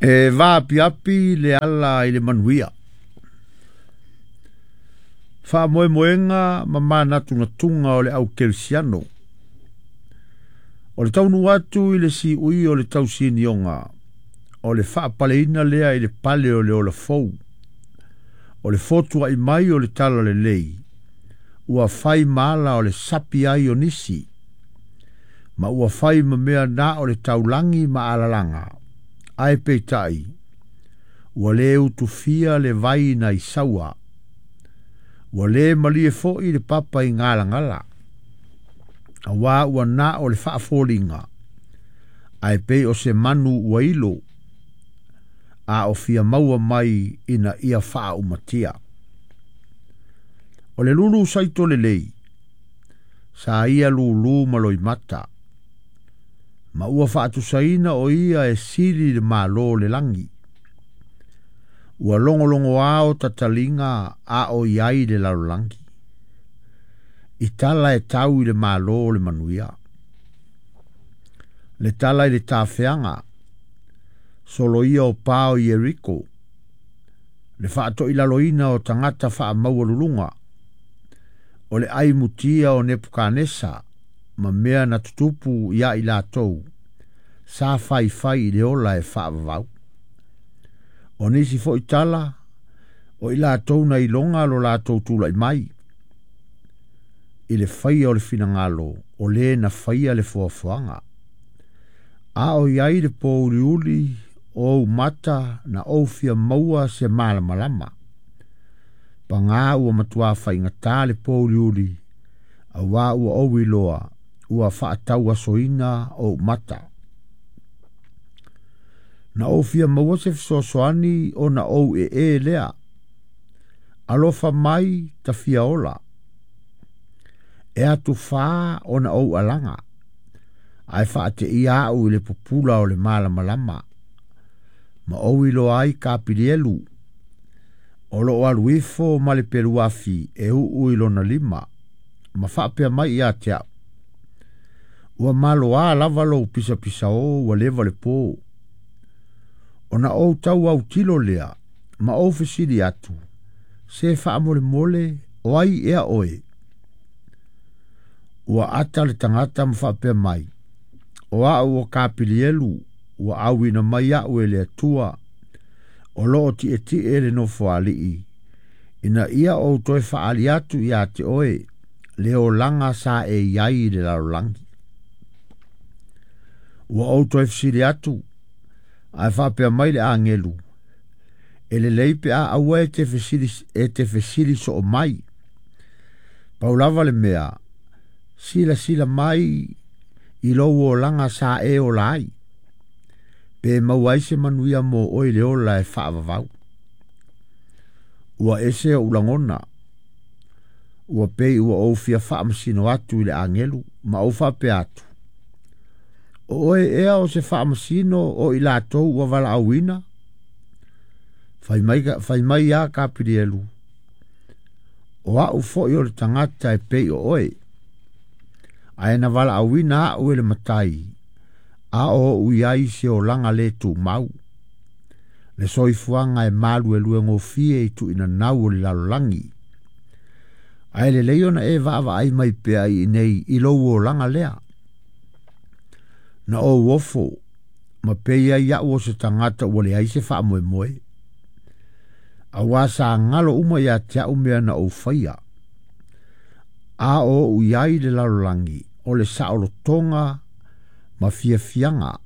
E vaapiapi le ala i le manuia. Faamoemoega ma manatunatuga o le au kerisiano. O le taunuu atu i le siui o le tausinioga, o le faapaleina lea i le pale o le ola fou. O le fotuai mai o le talalelei, ua fai ma ala o le sapi ai o nisi, ma ua fai ma mea na o le taulagi ma alalaga, ae peitai, ua le utufia le vai na i saua, ua le malie foi le papa i galagala, auā ua na o le faafoliga, ae pei o se manu ua ilo, a o fia maua mai ina ia faaumatia. O le lulu saito lelei, sa ia lulu ma loimata, ma ua faatusaina o ia e sili le malo o le lagi. Ua logologoa o tataliga a o i ai le lalolagi. I tala e tau i le malo o le manuia. Le tala i le tafeaga, soloia o pa o Ieriko, le faatoilaloina o tagata faamaualuluga, o le ai mutia o Nepukanesa, ma mea na tutupu ia i latou, sa faifai i le ola e faavavau. O nisi foi tala, o i latou na iloga lo latou tulai mai, i le faia o le finagalo, o le na faia le foafoaga. A o i ai le pouliuli o ou mata na ou fia maua se malamalama. Pagā ua matuā faigata le pouliuli, auā ua ou iloa, ua faatauasoina ou mata. Na ou fia maua se fesoasoani ona ou ee lea. Alofa mai ta fia ola. E atufā ona ou alaga, ae faateia au i le pupula o le malamalama. Ma ou iloa ai Kapilielu, o loo alu ifo ma le peluafi e uu i lona lima, ma faapea mai ia te au. Ua maloā lava lou pisapisaō ua leva le pō. Ona ou tau autilo lea, ma ou fesili atu, se faamolemole o ai ea oe? Ua ata le tagata ma faapea mai, o au o Kapilielu, ua auina mai au e le Atua, o loo tietie le nofoalii, ina ia ou toe faaali atu ia te oe, le olaga sa e i ai i le lalolagi. Ua ou toe fesili atu, ae faapea mai le agelu, e lelei pe a aua e te fesili soo mai. Pau lava le mea, silasila mai i lou olaga sa e ola ai, pe maua ai se manuia mo oe le ola e faavavau. Ua ese ou lagona, ua pei ua ou fia faamasino atu i le agelu, ma ou faapea atu, o oe ea o se faamasino o i latou ua valaauina? Fai mai ia Kapilielu, o au foi o le tagata e pei o oe, ae na valaauina au e le matai, a o ou i ai se olaga le tumau. Le soifuaga e malueluegofie i tuuinanau o le lalolagi. Ae lelei ona e vaavaai mai pea i inei i lou olaga lea. Na ou ofo, ma pei ai au o se tagata ua leai se faamoemoe. Auā sa galo uma ia te au mea na ou faia. A o ou i ai le lalolagi, o le saolotoga ma fiafiaga.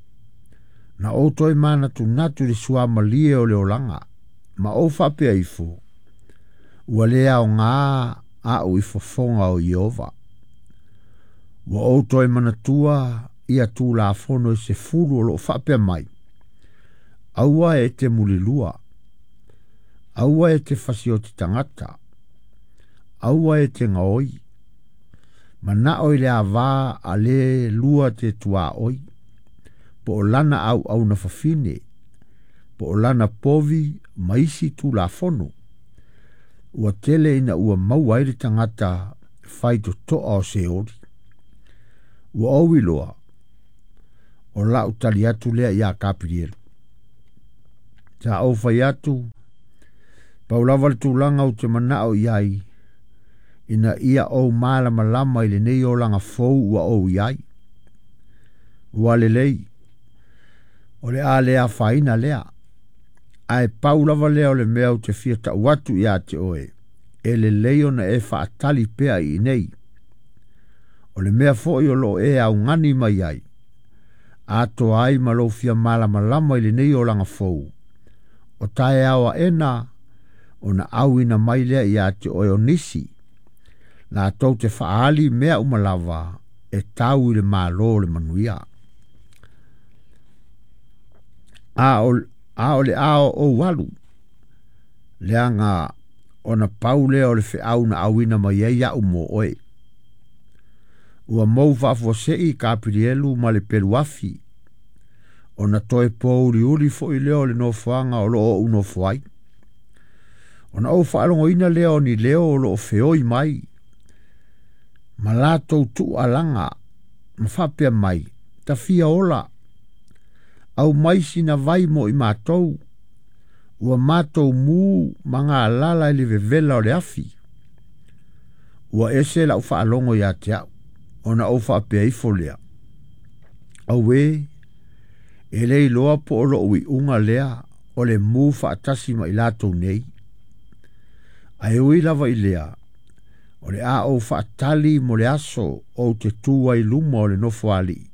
Na ou toe manatunatu i le suamalie o le olaga, ma ou faapea ifo, ua le aogā au i fofoga o Ieova. Ua ou toe manatua ia tulafono e 10 o loo faapea mai, aua e te mulilua, aua e te fasioti tagata, aua e te gaoi, manao i le avā a le lua te tuaoi, po o lana auauna fafine, po o lana povi ma isi tulafono. Ua tele ina ua maua ai le tagata faitotoa o Seoli. Ua ou iloa, o lau tali atu lea ia Kapilielu. Sa ou fai atu, pau lava le tulaga ou te manao i ai, ina ia ou malamalama i lenei olaga fou ua ou i ai. Ua lelei, o le a le afaina lea, ae pau lava lea o le mea ou te fia tau atu ia te oe, e lelei ona e faatali pea i inei. O le mea foi o loo e augani mai ai, atoa ai ma lou fia malamalama i lenei olaga fou, o taeao aena ona auina mai lea ia te oe o nisi, latou te faaali mea uma lava e tau i le Malo o le manuia. A o le a ou alu, leaga ona pau lea o le feau na auina mai ai au mo oe. Ua mou faafuasei Kapilielu ma le peluafi, ona toe pouliuli foi lea o le nofoaga o loo ou nofo ai. Ona ou faalogoina lea o ni leo o loo feoi mai, ma latou tuualaga ma faapea mai, tafia ola, au mai sina vai mo i matou, ua matou mu ma galala i le vevela o le afi. Ua ese lau faalogo ia te au, ona ou faapea ifo lea. Auē, e le iloa po o lou iuga lea o le mu faatasi ma i latou nei. Ae ui lava i lea, o le a ou faatali mo le aso ou te tu ai luma o le nofo alii.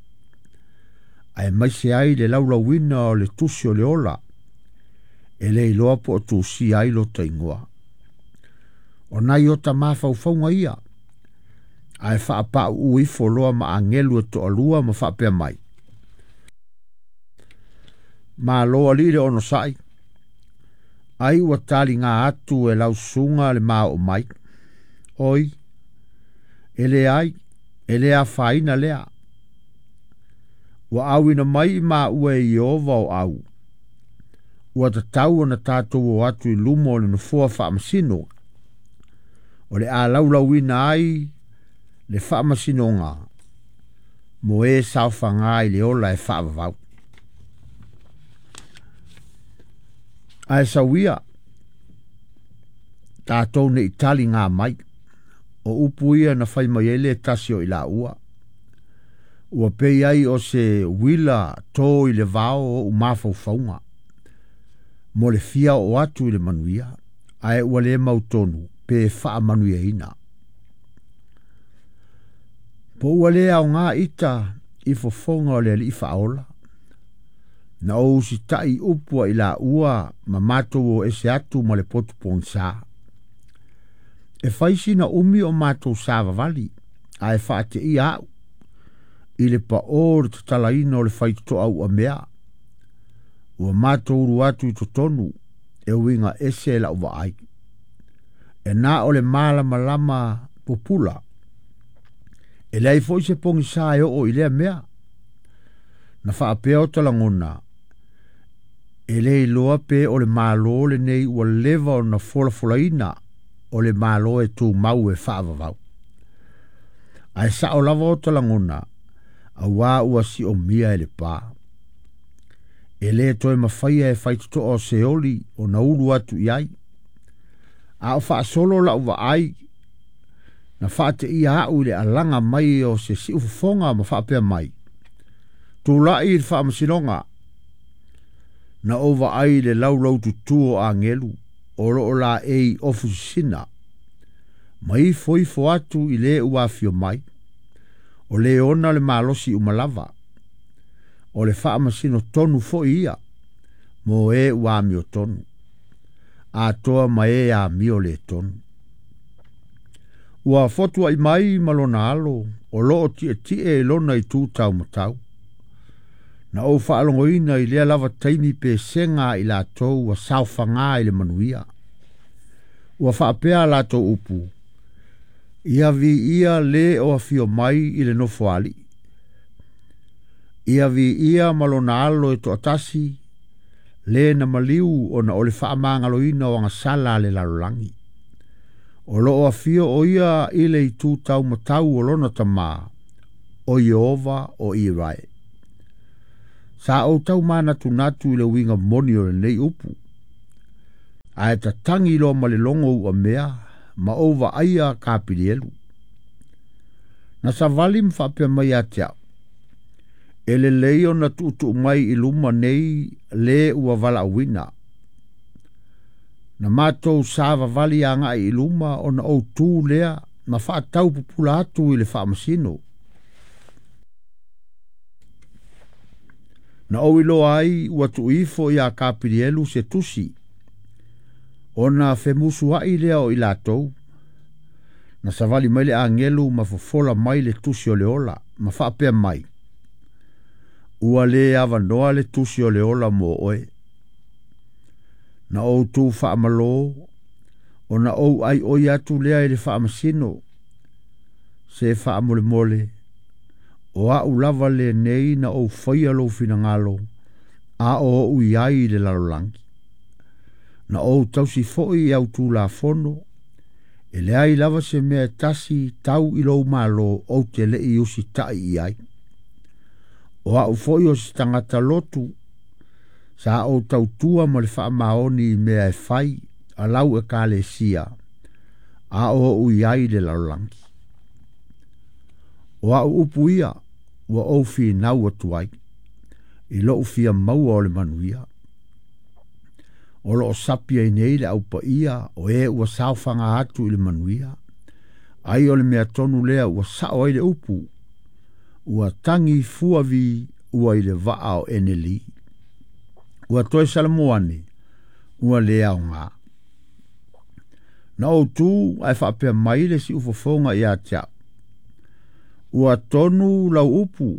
Ae maise ai le laulauina o le tusi o le ola, e le iloa po o tusia ai lota igoa. O nai o ta mafaufauga ia, ae faapauu ifo loa ma agelu e toalua ma faapea mai. Malo alii le onosai, ai ua taliga atu e lausuga le maoo mai. Oi, e le ai, e le afaina lea. Ua auina mai i maua e Ieova o au. Ua tatau ona tatou o atu i luma o le nofoa faamasino. O le a laulauina ai le faamasinoga mo e saofaga i le ola e faavavau. Ae sauia, tatou nei taliga mai, o upu ia na fai mai ai le tasi o i laua. Ua pei ai o se uila to i le vao o ou mafaufauga, mo le fia o atu i le manuia, ae ua le mautonu pe faamanuiaina. Po ua le aoga ita i fofoga o le alii faaola, na ou usitai upu ai laua ma matou o ese atu ma le potu pogisa. E fai sina umi o matou savavali, ae faateia au, i le pao le tatalaina o le faitotoa uamea. Ua matou ulu atu i totonu, e uiga ese lau vaai. E na o le malamalama pupula, e leai foi se pogisa e oo i lea mea. Na faapea o talagona, e le iloa pe o le Malo lenei ua leva ona folafolaina o le Malo e tumau e faavavau. Ae sao lava o talagona, auā ua siomia e le pā. E le toe mafaia e faitotoa o Seoli ona ulu atu i ai. A o faasolo lau vaai, na faateia au i le alaga mai o se siufofoga ma faapea mai. Tulai i le faamasinoga, na ou vaai i le laulaututu o agelu, o loo laei ofu sisina, ma ifo ifo atu i le ua afio mai, o le ona le malosi uma lava, o le faamasino tonu foi ia, mo e ua amio tonu, atoa ma e amio le tonu. Ua fotuai mai ma lona alo, o loo tietie i lona itu taumatau. Na ou faalogoina i lea lava taimi pesega i latou ua saofaga i le manuia. Ua faapea latou upu, ia viia le o afio mai i le nofo alii. Ia viia ma lona alo e toatasi, le na maliu ona o le faamagaloina o agasala a le lalolagi. O loo afio o ia i le itu taumatau o lona tamā, o Ieova o Isarae. Sa ou tau manatunatu i le uiga moni o lenei upu. Ae tatagi loa ma le logo uamea ma ou vaaia Kapilielu. Na savali ma faapea mai ia te au, e lelei ona tuutuu mai i luma nei le ua valaauina. Na matou savavali agai i luma ona ou tu lea ma faatau pupula atu i le faamasino. Na ou iloa ai ua tuuifo ia Kapilielu se tusi, ona femusuai lea o i latou. Na savali mai le agelu ma fofola mai le tusi o le ola, ma faapea mai, ua le avanoa le tusi o le ola mo oe. Na ou tu faamalō, ona ou aioi atu lea i le faamasino, se faamolemole, o au lava lenei na ou faia lou finagalo, a o ou i ai i le lalolagi. Na ou tausi foi i au tulafono, e leai lava se mea e tasi tau i lou malo ou te lei usitai i ai. O au foi o se tagata lotu, sa ou tautua ma le faamaoni i mea e fai a lau ekalesia, a o ou i ai i le lalolagi. O au upu ia, ua ou finau atu ai, i lou fia maua o le manuia. O loo sapi ai nei le aupaia o e ua saofaga atu i le manuia. Ai o le mea tonu lea ua sao ai le upu, ua tagi fuavi ua i le vaa o Eneli. Ua toe salamo ane, ua le aoga. Na ou tu ae faapea mai le siufofoga ia te au, ua tonu lau upu,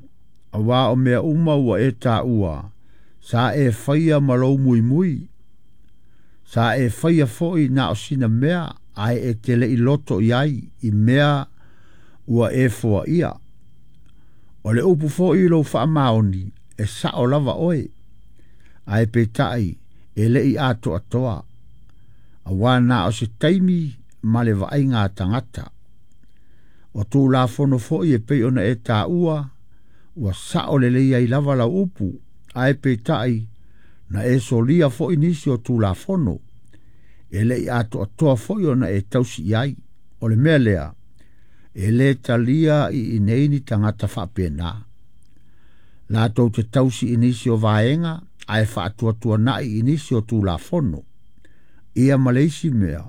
auā o mea uma ua e taua, sa e faia ma lou muimui. Sa e faia foi na o sina mea, ae e te lei loto i ai i mea ua e foaia. O le upu foi i lou faamaoni, e sao lava oe, ae peitai e lei atoatoa, auā na o se taimi ma le vaaiga a tagata. O tulafono foi e pei ona e taua, ua sao lelei ai lava lau upu, ae peitai na e solia foi nisi o tulafono, e lei atoatoa foi ona e tausi i ai. O le mea lea, e le talia i inei ni tagata faapena. Latou te tausi i nisi o vaega, ae faatuatuanai i nisi o tulafono. Ia ma le isi mea,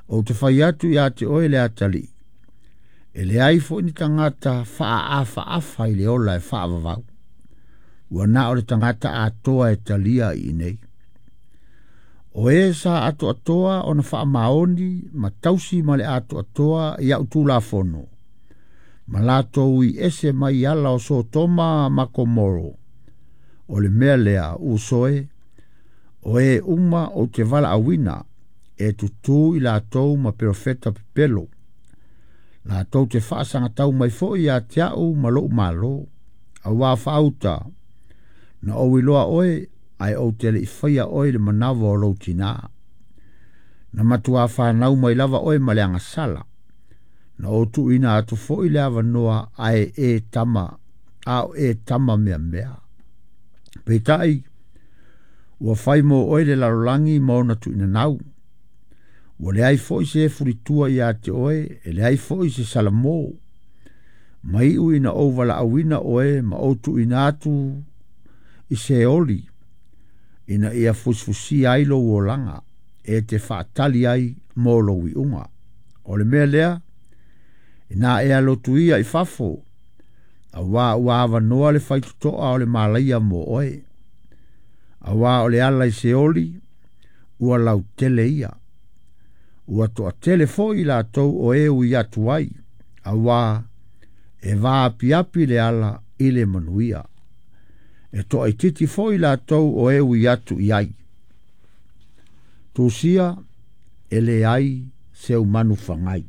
ou te fai atu ia te oe le atalii, e leai foi ni tagata faaafaafa i le ola e faavavau. Ua na o le tagata atoa e talia i inei. O e sa atoatoa ona faamaoni ma tausi ma le atoatoa i au tulafono, ma latou i ese mai ala o Sotoma ma Komoro. O le mea lea, uso e, o e uma ou te valaauina, e tutū i latou ma perofeta pepelo. Latou te faasagatau mai foi ia te au ma lou malo. Auā faauta, na ou iloa oe, ae ou te lei faia oe i le manava o lou tinā. Na matuā fanau mai lava oe ma le agasala. Na ou tuuina atu foi le avanoa ae e tama, a o e tama meamea. Peitai, ua fai mo oe le lalolagi ma ona tuuinanau. Ua leai foi se fulitua ia te oe, e leai foi se salamo. Ma iu ina ou valaauina oe ma ou tuuina atu i Seoli, ina ia fusifusia ai lou olaga, e te faatali ai mo lou iuga. O le mea lea, ina e alotu ia i fafo, auā ua avanoa le faitotoa o le malaia mo oe. Auā o le ala i Seoli, ua lautele ia. Ua toatele foi i latou o e ui atu ai, auā e vaapiapi le ala i le manuia. E toaitiiti foi latou o e ui atu i ai. Tusia e leai se umanu fagai.